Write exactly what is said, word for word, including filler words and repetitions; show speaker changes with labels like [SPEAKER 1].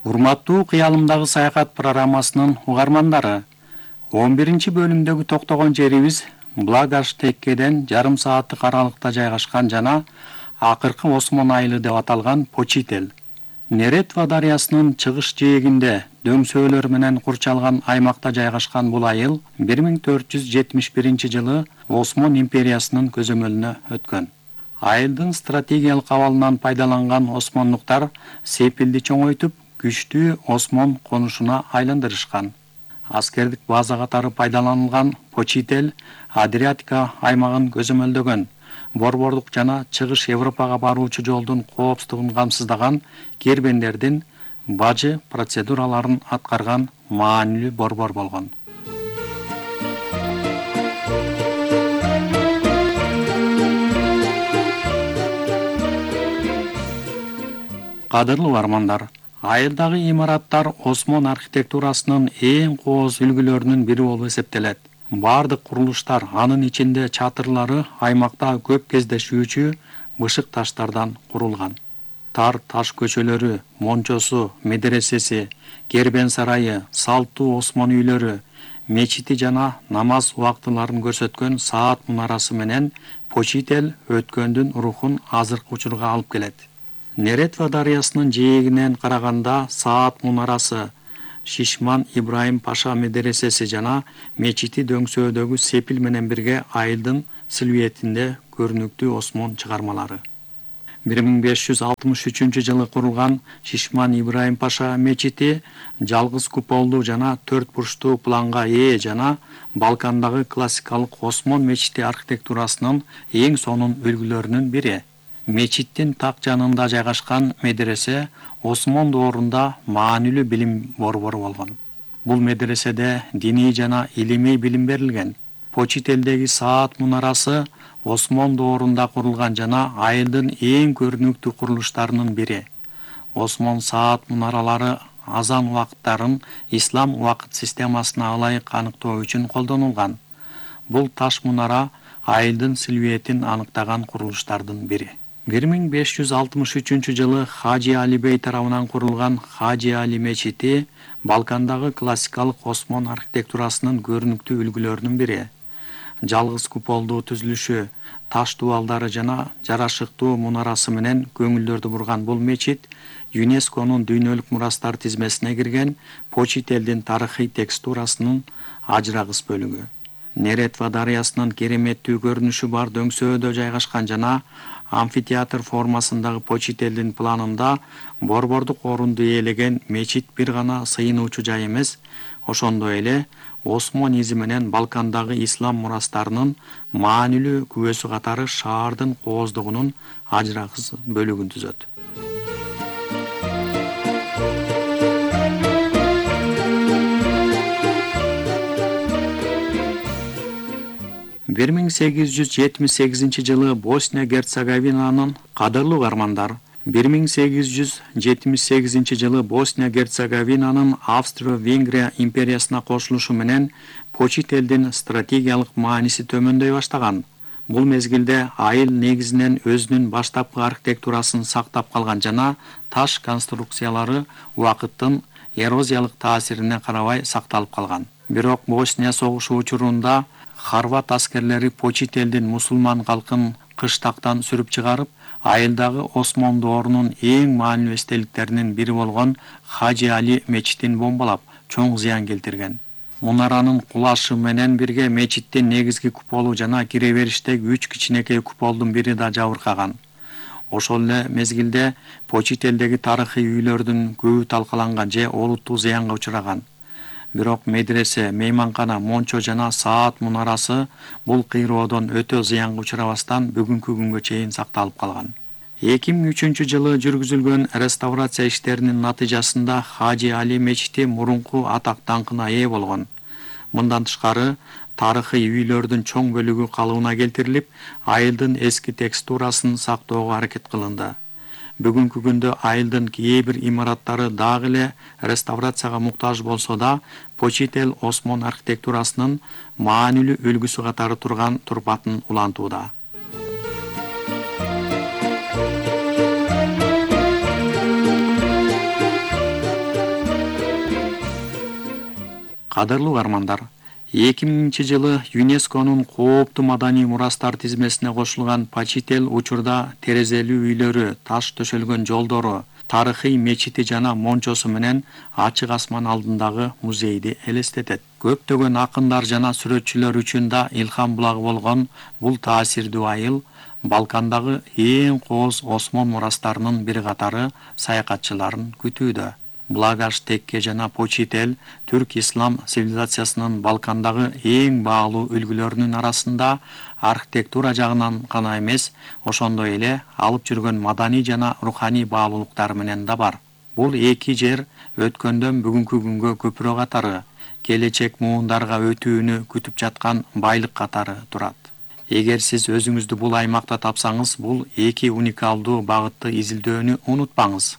[SPEAKER 1] Урматтуу Кыялымдагы саякат программасынын угармандары, он биринчи бөлүмдөгү токтогон жерибиз Благаш-Теккеден жарым сааттык аралыкта жайгашкан жана акыркы Осмон айылы деп аталган Почитель. Неретва дарыясынын чыгыш жээгинде дөңсөөлөр менен курчалган аймакта жайгашкан бул айыл бир миң төрт жүз жетимиш биринчи жылы Осмон империясынын көзөмөлүнө өткөн. Айылдын стратегиялык абалынан пайдаланган осмондуктар Сепилди чоңойтуп, күчтүү Осмон конушуна айландырышкан. Аскердик база катары пайдаланылган Почитель Адриатика аймагын көзөмөлдөгөн, борбордук жана чыгыш Европага баруучу жолдун коопсуздугун камсыздаган кербендердин бажы процедураларын аткарган маанилүү борбор болгон. Кадырлуу угармандар, айылдагы имараттар Осмон архитектурасынын эң кооз үлгүлөрүнүн бири болуп эсептелет. Бардык курулуштар, анын ичинде чатырлары, аймакта көп кездешүүчү бышык таштардан курулган. Тар таш көчөлөрү, мончосу, медресеси, кербен сарайы, салттуу Осмон үйлөрү, мечити жана намаз убактыларын көрсөткөн саат мунарасы менен Почитель өткөндүн рухун азыркы учурга алып келет. Неретва дарыясынын жээгинен караганда саат мунарасы, Шишман Ибраим Паша медресеси жана мечити дөңсөөдөгү Сепил менен бирге айылдын силуэтинде көрүнүктүү Осмон чыгармалары. бир миң беш жүз алтымыш үчүнчү жылы курулган Шишман Ибраим Паша мечити жалгыз куполдуу жана төрт бурчтуу планга ээ жана Балкандагы классикалык Осмон мечити архитектурасынын эң сонун үлгүлөрүнүн бири. Мечиттин так жанында жайгашкан медресе Осмон доорунда маанилүү билим борбору болгон. Бул медреседе диний жана илимий билим берилген. Почителдеги саат мунарасы Осмон доорунда курулган жана айылдын эң көрүнүктүү курулуштарынын бири. Осмон саат мунаралары азан убакыттарын ислам убакыт системасына ылайык аныктоо үчүн колдонулган. Бул таш мунара айылдын силуэтин аныктаган курулуштардын бири. бир миң беш жүз алтымыш үчүнчү жылы Хажи Али бей тарабынан курулган Хажи Али мечити Балкандагы классикалык Осмон архитектурасынын көрүнүктүү үлгүлөрүнүн бири. Жалгыз куполдуу түзүлүшү, таш дубалдары жана жарашыктуу мунарасы менен көңүлдөрдү бурган бул мечит ЮНЕСКОнун дүйнөлүк мурастар тизмесине кирген Почителдин тарыхый текстурасынын ажырагыс бөлүгү. Неретва дарыясынын кереметтүү көрүнүшү бар дөңсөөдө жайгашкан жана амфитеатр формасындагы Почителдин планында борбордук орунду ээлеген мечит бир гана сыйынуучу жай эмес, ошондой эле Осмон изи менен Балкандагы ислам мурастарынын маанилүү күбөсү катары шаардын кооздугунун ажырагыс бөлүгүн түзөт. бир миң сегиз жүз жетимиш сегизинчи жылы Босния Герцеговинанын кадырлуу угармандар, бир миң сегиз жүз жетимиш сегизинчи жылы Босния Герцеговинанын Австро-Венгрия империясына кошулушу менен Почителдин стратегиялык мааниси төмөндөй баштаган. Бул мезгилде айыл негизинен өзүнүн баштапкы архитектурасын сактап калган жана таш конструкциялары убакыттын эрозиялык таасирине карабай сакталып калган. Бирок Босния согушу учурунда хорват аскерлери Почителдин мусулман калкын кыштактан сүрүп чыгарып, айылдагы Осмон доорунун эң маанилүү эстеликтеринин бири болгон Хажи Али мечитин бомбалап, чоң зыян келтирген. Мунаранын кулашы менен бирге мечиттин негизги куполу жана кире бериштеги үч кичинекей куполдун бири да жабыркаган. Ошол эле мезгилде Почителдеги тарыхый үйлөрдүн көбү талкаланган же олуттуу зыянга учураган. Бирок медресе, мейманкана, мончо жана саат мунарасы бул кыйроодон өтө зыянга учурабастан бүгүнкү күнгө чейин сакталып калган. эки миң үчүнчү жылы жүргүзүлгөн реставрация иштеринин натыйжасында Хажи Али мечити мурунку атак даңкына ээ болгон. Мындан тышкары тарыхый үйлөрдүн чоң бөлүгү калыбына келтирилип, айылдын эски текстурасын сактоого аракет кылынды. Бүгүнкү күндө айылдын кээ бир имараттары дагы эле реставрацияга муктаж болсо да, Почитель Осмон архитектурасынын маанилүү үлгүсү катары турган турпатын улантууда. Кадырлуу угармандар, эки миңинчи жылы ЮНЕСКОнун кооптуу маданий мурастар тизмесине кошулган Почител учурда терезелүү үйлөрү, таш төшөлгөн жолдору, тарыхый мечити жана мончосу менен ачык асман алдындагы музейди элестетет. Көптөгөн акындар жана сүрөтчүлөр үчүн да илхам булагы болгон бул таасирдүү айыл Балкандагы эң кооз осмон мурастарынын бири катары саякатчыларын күтүүдө. Благаш Текке жана Почител түрк ислам цивилизациясынын Балкандагы эң баалуу үлгүлөрүнүн арасында архитектура жагынан гана эмес, ошондой эле алып жүргөн маданий жана руханий баалуулуктары менен да бар. Бул эки жер өткөндөн бүгүнкү күнгө көпүрө катары, келечек муундарга өтүүнү күтүп жаткан байлык катары турат. Эгер сиз өзүңүздү бул аймакта тапсаңыз, бул эки уникалдуу багытты изилдөөнү унутпаңыз.